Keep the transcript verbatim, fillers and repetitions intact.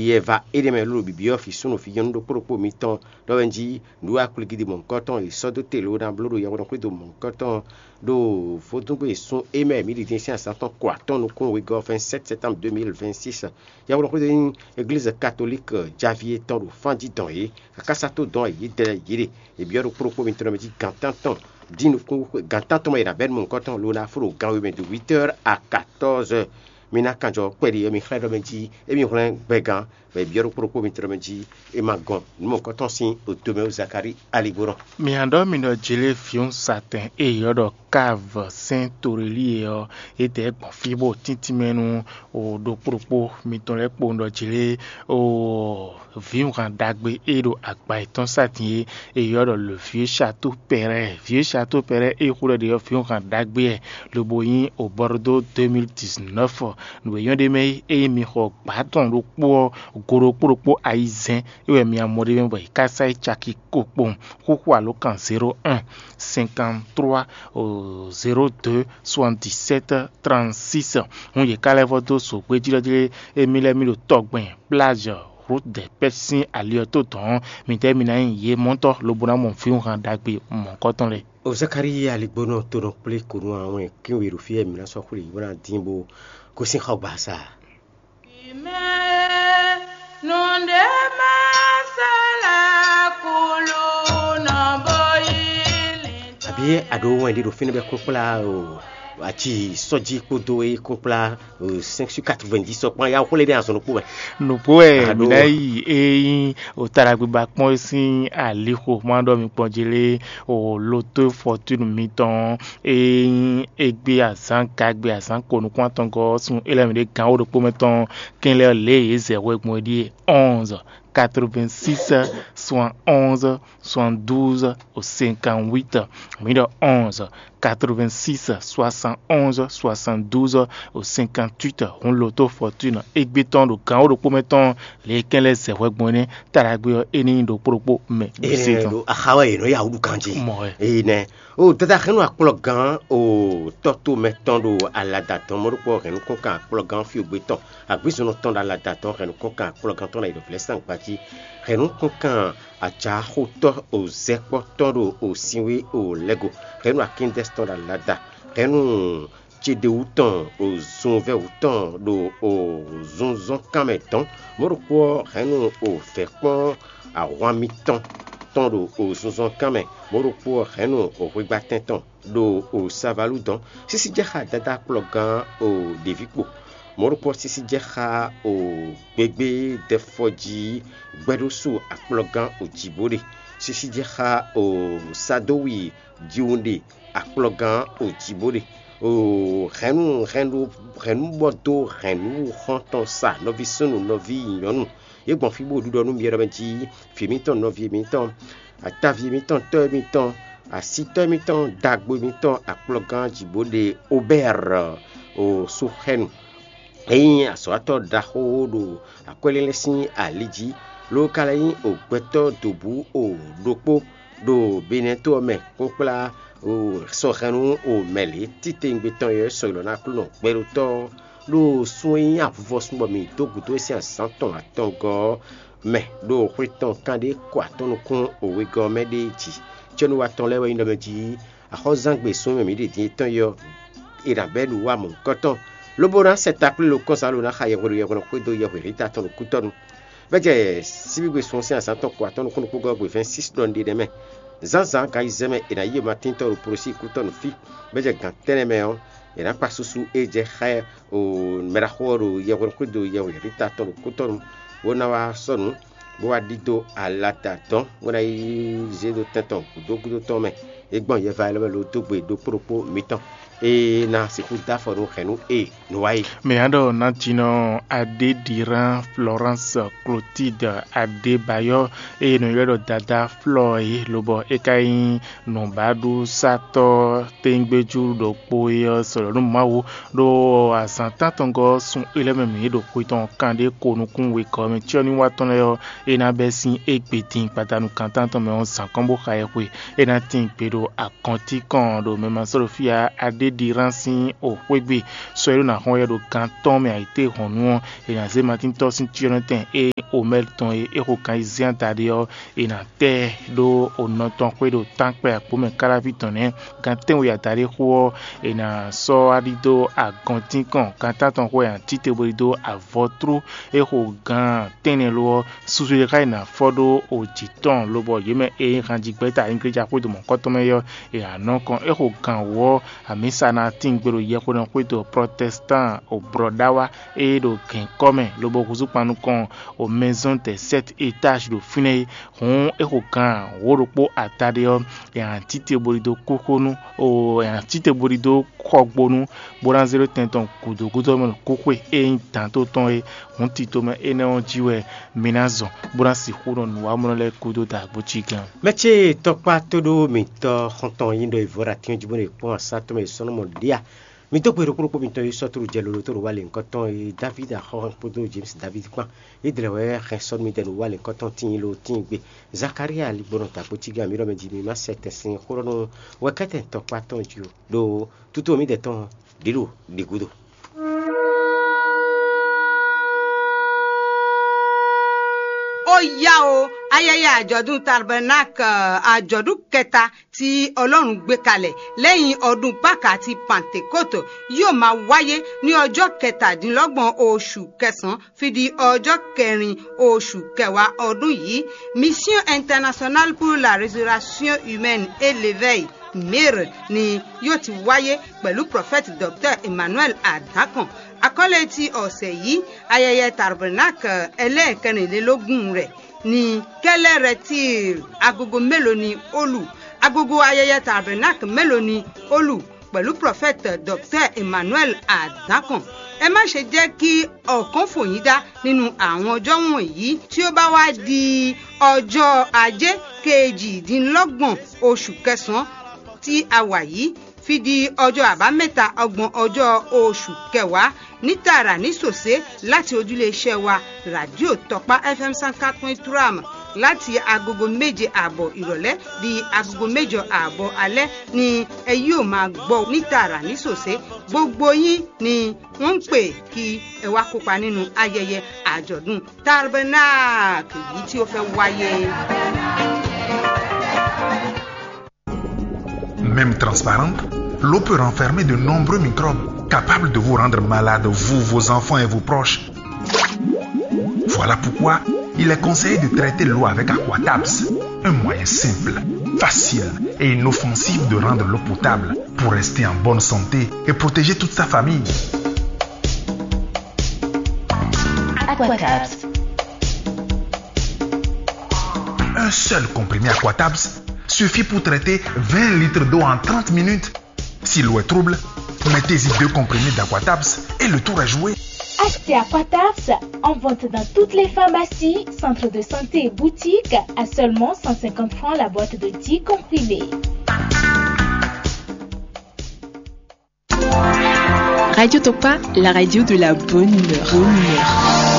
Yɛ va éɖée mɛ ló ɖo bǐbí ɔ́, vǐ súnnu vǐ nyɔ́nu ɖokpó ɖokpó mitɔn ɖɔ wɛ jí nǔ akwligidi mɔ̌hunkɔtɔn e sɔ́ dó te ló ná bló ɖo yɛhweɖɔxwédo mɔ̌hunkɔtɔn ɖo vodúngbe sún é mɛ mǐ ɖi din sín azǎn tɔn ko atɔ́ɔ́n nukún wegɔ́ vɛ̌nsɛ́t sɛ́tánb dó mil vɛ̌nsíx. Yɛhweɖɔxwédo nyí Eglízi Katolík javí e tɔn ɖo fánjí dɔn yě, káká sá tó dɔn yědɛɛ yě ɖe. È byɔ́ ɖokpó ɖokpó mitɔn ɖɔ mɛ jí gǎn tántɔn dín nukún gan tántɔn mɛ è nǎ bɛ́ nú mɔ̌hunkɔtɔn lo ná fó ɖo gan we mɛ do huit heures à quatorze heures. Mi ná kanjɔ kpɛɖi ɔ́, mi xlɛ́ ɖɔ mɛ jí émí hwlɛ́n gbɛgán, bɔ è byɔ́ ɖokpó ɖokpó mitɔn ɖɔ mɛ jí é ma gɔn nǔ mɔ̌hunkɔtɔn sín oto mɛ ó Zakalíi aligbónɔ. Mi ǎ ɖɔ mi ɖɔ Jelée vǐwun satɛn e è ylɔ́ ɖɔ Káv sɛ́n Torelí e ɔ́, é dɛ gbɔn fí bó tíntín mɛ nú ɖokpó ɖokpó mitɔn lɛ́ɛ kpowun ɖɔ Jelée vǐwunhan ɖagbe e ɖo agba yětɔn sa din é, è ylɔ́ ɖɔ le vieux château Perret. Vieux château Perret e xú ɖɔ ɖe ɔ́, vǐwunhan ɖagbe wɛ, lobo nyí o Bordeaux deux mille dix-neuf. Nǔ e nyɔ́ ɖ'é mɛ é, ényí mi xɔ gbǎ tɔn ɖokpó ɔ́, go ɖokpó ɖokpó ayizɛ́n é wɛ mi amɔ ɖ'é mɛ bɔ è ká sá yi caki ko kpowun. Xúxú alǒkan zéro un cinquante-trois zéro deux soixante-dix-sept trente-six. Hǔn yě ká lɛ́ vɔ́ dó zǒgbéjlɔ́jlé émí lɛ́ɛ mì ɖo tɔgbɛn Plage Route des Pêches sín ali ɔ́ tó dɔ̌n. Midɛɛ mi ná nyí yě mɔ̌tɔn lobo ná mɔ vǐwunhan ɖagbe mɔ̌hunkɔtɔn lɛ́ɛ. O Zakalíi aligbónɔ tonɔ kplé konu awɛn kínwe ɖo fí e mǐ ná sɔ́ xwlé bó ná dín bó gosín xɔgbasa. Nǔɖé má sɔ́ lɛ́ kúlú nɔ bó yí lin. Àbí àɖó wɛn ɖé ɖo fínɛ́ bɛ́ kún kplá o aci sɔ́jí kpódó é kún kplá cinq sur quatre-vingt-dix sɔkpɔ́n ya xwlé ɖé azɔn ɖokpó mɛ. Nǔgbó wɛ Aɖó. Mǐ ná yi é nyí òtaɖagbiba kpɔ́n sín alixo má ɖɔ mi kpɔn jí lé o loto fɔtúnu mitɔn é nyí égbé azǎn gagbe azǎn ko nukún atɔngɔ́ sun élɔ́ mǐ ɖe gǎn wó ɖokpó mɛ tɔn kɛnlɛ lě e yě zɛ hwɛ gbɔn é ɖíe onze quatre-vingt-six soixante-onze soixante-douze au cinquante-huit. Mǐ ɖɔ onze quatre-vingt-six soixante-onze soixante-douze au cinquante-huit. Hǔn loto fɔtúnu égbé tɔn ɖo gǎn wó ɖokpó mɛ tɔn lě e kɛn lɛ́ɛ zɛ hwɛ gbɔn é nɛ́. Taɖagbe ɔ́, é ní nyí ɖokpó ɖokpó mɛ ɖo sé Énɛ́ tɔn. Ɖo axá wɛ yě nɔ ya wǔ ɖu ganjí. Mɔ wɛ. Énɛ́. O dada hɛn nú akplɔ́gán o tɔ́ tomɛ tɔn ɖo alada tɔn mɔ̌ ɖokpó hɛn nukɔn kan akplɔ́gán fí ogbe tɔn. Agbízɔnnɔ tɔn ɖo alada tɔn hɛn nukɔn kan akplɔ́gán tɔn ɖo ayǐɖɔ̌vlɛ́ sín agbají. Hɛn nukɔn kan ajǎxotɔ́ o zɛkpɔ́tɔ́ ɖo o sinwé o lɛ́go. Hɛn nú akíndɛ́s tɔn ɖo alada. Hɛn nú Jeɖewú tɔn o zunvɛ́wú tɔn ɖo o zunzɔ́nkan mɛ dɔn. Mɔ̌ ɖokpó ɔ́, hɛn nú o vɛ̌ kpɔ́n ahwan mitɔn tɔn ɖo o zunzɔ́nkan mɛ. Mɔ̌ ɖokpó ɔ́, hɛn nú o hwegbatɛn tɔn ɖo o savalú dɔn. Sísí jɛ xá dadá kplɔ́gán o ɖěví kpo. Mɔ̌ ɖokpó ɔ́, sísí jɛ xá o gbegbé dɛfɔjí gbɛɖósú akplɔ́gán o jǐbó ɖe. Sísí jɛ xá o sadówi jiwunɖe akplɔ́gán o jǐbó ɖe. O hɛ̌nnu hɛ̌nnu hɛ̌nnu bɔ dó hɛ̌nnu xɔ́ntɔn sa nɔví súnnu nɔví nyɔ̌nu. Yě gbɔn fí bó ɖiɖɔ nú myɔ ɖɔ mɛ jí vǐ mǐtɔn nɔví mǐtɔn ataví mǐtɔn tɔ́ mǐtɔn asítɔ́ mǐtɔn dagbo mǐtɔn akplɔ́gán jǐbó ɖe Obɛ́r o Suxɛ́nu. É nyí azɔ̌watɔ́ ɖaxó ɖo akwɛ́lélɛ́ sín ali jí, ló ka lɛ́ nyí o gbɛtɔ́ dǒbú o ɖokpó ɖo Benɛ́to ɔ́ mɛ kpókplá o sɔhɛnnú o mɛ lě titewungbe tɔn e sɔ ylɔ̌ ná Aklúnɔ gbɛɖótɔ́ ɔ́, ɖo sun e nyí avuvɔsun bɔ mǐ dó gǔdo e sín azǎn tɔn atɔngɔ́ ɔ́ mɛ ɖo xwe tɔn kanɖé ko atɔ́ nukún o wegɔ́ ɔ́ mɛ ɖe jí. Cɛ́núwa tɔn lɛ́ɛ wɛ nyí ɖɔ mɛ jí axɔ́zangbe súnnu e mǐ ɖe din é tɔn yi ɔ́, è nǎ bɛ́ nǔ wa mɔ̌hunkɔtɔn, lobo ná sɛ takplé lo kɔ́nsan lo ná xa yɛhweɖo yɛhweɖɔ xwedó yɛhweɖítá tɔn ɖo kútɔ́nu. Bɛ́ jɛ síbígbe sun sín azǎn tɔn ko atɔ́ nukún ɖokpó gɔ́ gbe vɛ̌ɛn sísi ɖɔ un ɖe nɛ́ mɛ. Zǎnzǎn gan ayizɛ́n mɛ è nǎ yí e Matín tɔn ɖo Polosíi kútɔ́nu fí, bɛ́ jɛ gan tɛ́nnɛ mɛ ɔ́, è nǎ kpa susu e jɛ xá ɛ o mɛɖaxó ɔ́ ɖo yɛhweɖo xwedó yɛhweɖítá tɔn ɖo kútɔ́nu, bó ná wá sɔ́ nǔ, bó wá ɖidó alata dɔn, bó ná yi zé ɖó tɛn tɔn gǔdo gúdo tɔn mɛ. É gbɔn yɛva élɔ́ mɛ lo dó gbe ɖokpó ɖokpó mitɔn, é ná sixú dó afɔ nú hɛ̌nnu e nǔ wa é. Mǐ ná ɖɔ nǎjínɔ Adéɖirán Florence Clotilde Adébayɔ, eye nɔ ylɔ́ ɖɔ Dadá Flɔ é, lobɔ é ka nyí nǔbaɖusatɔ́ tɛ́ngbéjú ɖokpó é ɔ́, sɔlɔ̌ nú Mawu ɖó azǎn tántɔngɔ́ sun é lɛ́ɛ mɛ mǐ ɖo xwe tɔn kanɖé ko nukún wegɔ́ mɛ cyɔ́nywatɔ́n lɛ́ɛ ɔ́, é ná bɛ́ sín égbé din gbadanu kan tántɔn mɛ ɔ́ zǎn kɔn bó xa ɛ xwe. É ná tíin gbe ɖó Akɔntínkɔn ɖo mɛmasɔ́ɖofíya Adéɖiran sín oxwégbe sɔ́ e ɖó ná xɔ́n yɛ ɖo gan tɔn mɛ ayǐtéhɔ̌nnu ɔ́, è nǎ zé Matíntɔ́ sín cyɔ́nɔtɛn e omɛ́l tɔn e é xo kan ayizɛ́n adaɖé ɔ́, è nǎ tɛ ɖó onɔ tɔn xwé ɖo tánkpɛ akpó mɛ káláví tɔn nɛ́. Gan tɛ́nwe adaɖé xó ɔ́, è nǎ sɔ́ wá ɖidó agɔntínkɔn gan tántɔn xó e è nǎ tite bó ɖidó avɔtrú e xo gan tɛ́nnɛ lo ɔ́, susu e xá yi ná fɔ ɖó o jǐ tɔn, lobɔ yě mɛ e nyí hanjigbɛ́ta Ingleja xwedó mɔ̌kɔtɔn mɛ é ɔ́, è nǎ nɔ kɔn é xo gan wǒ ɔ́, amǐsa ná tín gbe ɖo yɛxwedó xwedó Protestant o Brɔ̌ɖawa e ɖo gɛ̌nkɔ́ mɛ, lobo húzú kpan nukɔn o Maison des Sept Étages ɖo fínɛ́ é. Hǔn é xo gan wǒ ɖokpó adaɖé ɔ́, è nǎ tite bo ɖidó kúxónú o è nǎ tite bo ɖidó xɔgbónú, bó ná zé ɖó tɛn tɔn gǔdo gúdo mɛ ɖo kúxwe e nyí dǎnto tɔn é. Hǔn tito mɛ énɛ́ ɔ́ jí wɛ mi ná zɔn, bó ná sixú nɔ nǔwamlɔ́ lɛ́ɛ kúdó dǎgbó cí gán. Mɛ ce tɔkpá tóɖó mǐtɔn xɔntɔn yí ɖɔ ìvɔ́ ɖo atín jí bó ɖe kpɔ́n asá tɔn mɛ sɔ́nɔmɔ ɖíe. Mi dó gbe ɖokpó ɖokpó mitɔn yi sɔ́ tlú jɛ lolo tó ɖo wá lě ŋkɔtɔn yi David axɔ́ kpódó James David kpán. Yi dlɛ̌ wɛ xɛn sɔ́ nú mi dɛ ɖo wá lě ŋkɔtɔn tíin lo tíin gbe. Zakaria ligbɔnɔ ta kpó cí gán mi ɖɔ mɛ jí mi má sɛ tɛn sín xó ɖɔ nú wɛkɛ́tɛn tɔkpá tɔn jí o ɖo tútú mi dɛ tɔn ɖě ɖo ɖě gúdo. Ó yá o, ayẹyẹ àjọ̀dún Tabernacle, àjọ̀dún kẹta tí Ọlọ́run gbé kalẹ̀ lẹ́yìn ọdún Pákà àti Pantekótò yóò máa wáyé ní ọjọ́ kẹtàdínlọ́gbọ̀n oṣù kẹsàn-án fi di ọjọ́ kẹrin oṣù kẹwàá ọdún yìí. Mission Internationale pour la Résurrection Humaine et l'Éveil, mir, ni yóò ti wáyé pẹ̀lú prọfẹ̀tì Dr. Emmanuel Adakan. Akɔ́lé ti ọ̀sẹ̀ yìí, ayẹyẹ Tabernacle ẹlẹ́ẹ̀kẹrìnlélógún rẹ̀ ní kɛlɛrɛtíl agogo mélòó ni ó lù? Agogo ayẹyẹ Tabernacle mélòó ni ó lù pẹ̀lú prọfẹ̀tì Dr. Emmanuel Adakan? Ẹ má ṣe jẹ́ kí ọ̀kán fò yín dá nínú àwọn ọjọ́ wọ̀nyí tí ó bá wá di ọjọ́ ajé kejìdínlọ́gbọ̀n oṣù kẹsàn-án tí a wà yìí fi di ọjọ́ àbámẹ́ta ọgbọ̀n ọjọ́ oṣù kẹwàá ní tààrà ní sòsé láti ojúléeṣẹ́ wa Radio Tɔkpá F M cent quatre point trois láti agogo méje àbọ̀ ìrọ̀lẹ́ di agogo mẹ́jọ àbọ̀ alẹ́ ni ẹ yóò máa gbọ́ ní tààrà ní sòsé. Gbogbo yín ni wọ́n ń pè kí ẹ wá kópa nínú ayẹyẹ àjọ̀dún Tabernacle yìí tí ó fẹ́ wáyé. Même transparente, l'eau peut renfermer de nombreux microbes capables de vous rendre malade, vous, vos enfants et vos proches. Voilà pourquoi il est conseillé de traiter l'eau avec Aquatabs, un moyen simple, facile et inoffensif de rendre l'eau potable pour rester en bonne santé et protéger toute sa famille. Aquatabs. Un seul comprimé Aquatabs suffit pour traiter vingt litres d'eau en trente minutes. Si l'eau est trouble, mettez-y deux comprimés d'Aquatabs et le tour est joué. Achetez Aquatabs en vente dans toutes les pharmacies, centres de santé et boutiques à seulement cent cinquante francs la boîte de dix comprimés. Radio Tokpa, la radio de la bonne humeur. Bonne humeur.